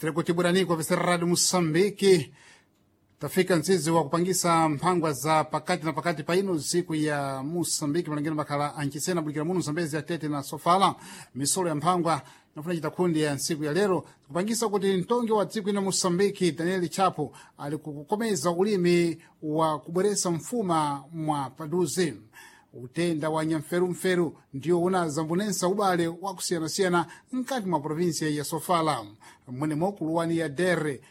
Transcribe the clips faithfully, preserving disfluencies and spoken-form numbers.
Tiri kutibweraniko pesera Radio Moçambique. Tafika mtsizi wa kupangisa mphangwa za pakati na pakati pa ino siku ya Moçambique, malangino makhala ancisena bulikira muno Zambezi ya Tete na Sofala. Misolo ya mphangwa nafuna chita kundi ya ntsiku ya lero kupangisa kuti mtongi wa dziko ino Moçambique Daniel Chapo ali kukomeza ulimi wa kubweresa mfuma mwa paduze. Utenda wa nyamferumferu ndio unazambunensa ubale wakusiyanasiyana mkati mwa provinsia ya Sofala, mwenemo kuluwani ya Dere.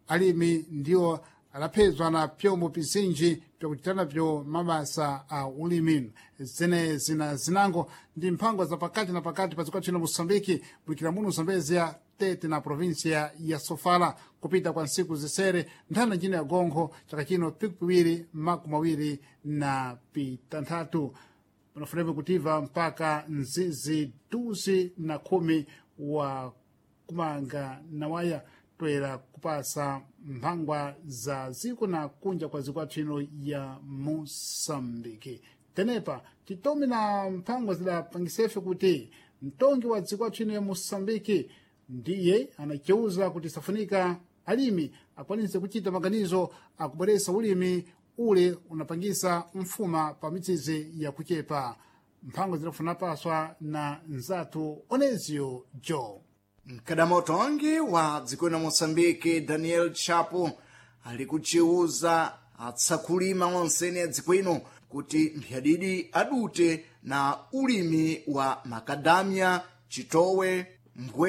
Alimi ndio alaphezwa na pyombo pizinji pyakuchitana pyo mabasa a ulimi. Zene zina zinango ndi mphangwa za pakati na pakati pa dziko lathu lino Moçambike, bulikira muno Zambezia, Tete na provinsia ya Sofala, kupita kwa ntsiku zisere nthanda njino ya gonkho chaka chino pikipiwiri makumi awiri na pitanthatu. Panafunepo kutiva mpaka nzizi duzi na khumi wa kumanga na waya toera kupasa mphangwa za ziko na kunja kwa ziko athu ino ya Moçambike. Tenepa titome na mphangwa zidapangisefe kuti mtongi wa dziko athu ino ya Moçambike ndiye anaceuza kuti safunika alimi akwanise kuchita maganizo akubweresa ulimi ule unapangisa mfuma pa mitsizi yakuchepa. Mphango zidafuna paswa na nzathu Onezio Joe. Mkadamotongi wa dziko la Moçambique Daniel Chapo ali kuciuza atsakulima onsene a dziko ino kuti mphyadidi adute na ulimi wa makadamia, chitowe, mbwe.